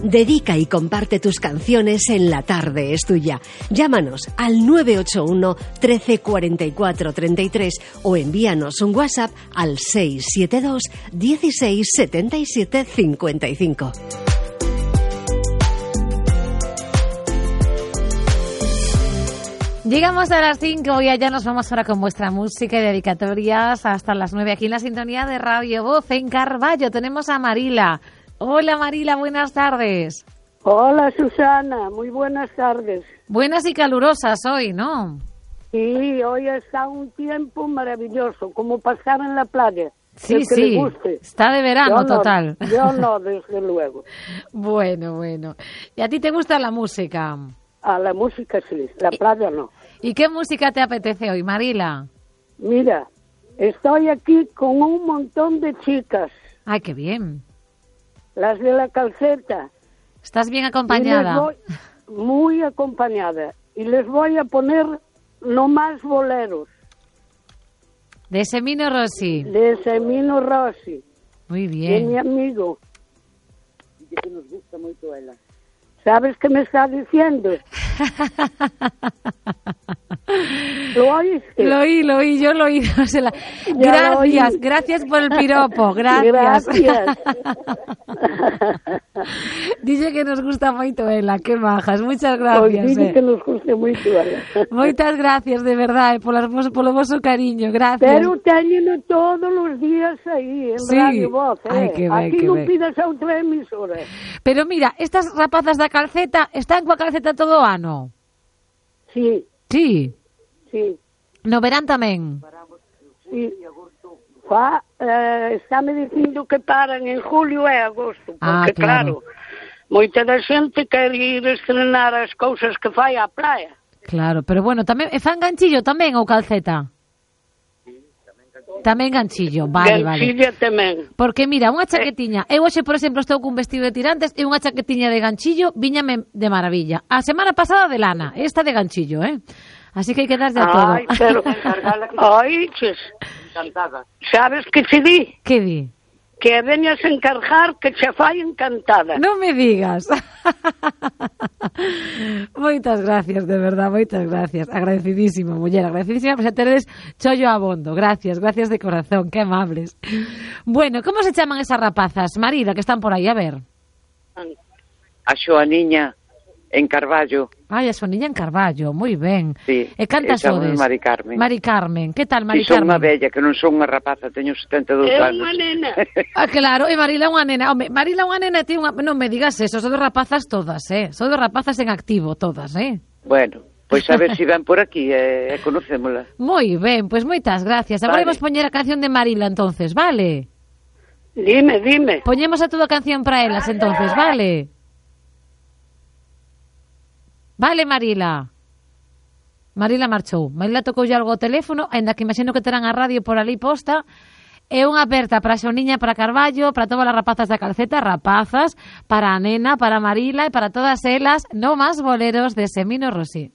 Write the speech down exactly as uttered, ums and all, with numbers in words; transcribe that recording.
Dedica y comparte tus canciones en La Tarde es Tuya. Llámanos al nueve ocho uno, trece, cuarenta y cuatro, treinta y tres o envíanos un WhatsApp al seis siete dos, dieciséis, setenta y siete, cincuenta y cinco. Llegamos a las cinco y allá nos vamos ahora con vuestra música y dedicatorias hasta las nueve aquí en la sintonía de Radio Voz en Carballo. Tenemos a Marila. Hola Marila, buenas tardes. Hola Susana, muy buenas tardes. Buenas y calurosas hoy, ¿no? Sí, hoy está un tiempo maravilloso, como pasar en la playa. Sí, que sí, le guste. Está de verano yo no, total. Yo no, desde luego. Bueno, bueno. ¿Y a ti te gusta la música? A la música sí, la playa no. ¿Y qué música te apetece hoy, Marila? Mira, estoy aquí con un montón de chicas. Ay, qué bien. Las de la calceta. ¿Estás bien acompañada? Voy, muy acompañada. Y les voy a poner no más boleros. De Semino Rossi. De Semino Rossi. Muy bien. De mi amigo. Dice que nos gusta mucho ella. ¿Sabes qué me está diciendo? ¿Lo oíste? Lo oí, lo oí, yo lo oí. No sé la... Gracias, gracias por el piropo, gracias. Gracias. Dice que nos gusta moito ela, que majas, muchas gracias. Pois dice eh. que nos gusta moito ela. Moitas gracias, de verdade, polas, polo vosso cariño, gracias. Pero téñeno todos os días aí, en sí. Radio Voz, eh? Ay, que ben, aquí que non ben. pidas a outra emisora. Pero mira, estas rapazas da calceta están coa calceta todo o ano? Sí. Sí. Sí. No verán tamén? Sí. Fa, eh, estáme dicindo que paran en julio e agosto, porque ah, claro. claro, moita da xente quer ir estrenar as cousas que fai á praia. Claro, pero bueno, tamén, e fan ganchillo tamén ou calceta? Tamén ganchillo, vale, Ganchilla vale. tamén. Porque mira, unha chaquetiña, eu hoxe, por exemplo, estou cun vestido de tirantes e unha chaquetiña de ganchillo viñame de maravilla. A semana pasada de lana, esta de ganchillo, eh? Así que hai que darlle a todo. Ai, pero... Ai, ches. Encantada. Sabes que che di? Que di? Que veñas a encargar que che fai encantada. Non me digas. Moitas gracias, de verdad, moitas gracias. Agradecidísimo, muller, agradecidísima por xa teredes chollo abondo. Gracias, gracias de corazón, que amables. Bueno, como se chaman esas rapazas, Marida, que están por aí, a ver? A Xoaniña en Carballo. Ai, a Xoaniña en Carballo, moi ben. Sí, e cantas sodes? Mari Carmen. Mari Carmen, que tal, Mari Carmen? Carmen? Son unha bella, que non son unha rapaza, teño setenta e dous é anos. É unha nena. Ah, claro, e Marila unha nena. Home, Marila unha nena, ti unha... non me digas eso, son de rapazas todas, eh? Son de rapazas en activo todas, eh? Bueno, pois a ver se si ven por aquí e eh, conocémola. Moi ben, pois moitas gracias. Agora vale. Vamos poñer a canción de Marila entonces, vale? Dime, dime. Poñemos a toda a canción para elas entonces, vale? Vale, Marila. Marila marchou. Marila tocou algo ao teléfono, ainda que imagino que terán a radio por ali posta. É unha aperta para a Xoniña, para Carballo, para todas as rapazas da calceta, rapazas, para a nena, para Marila e para todas elas, no más boleros de Semino Rossi.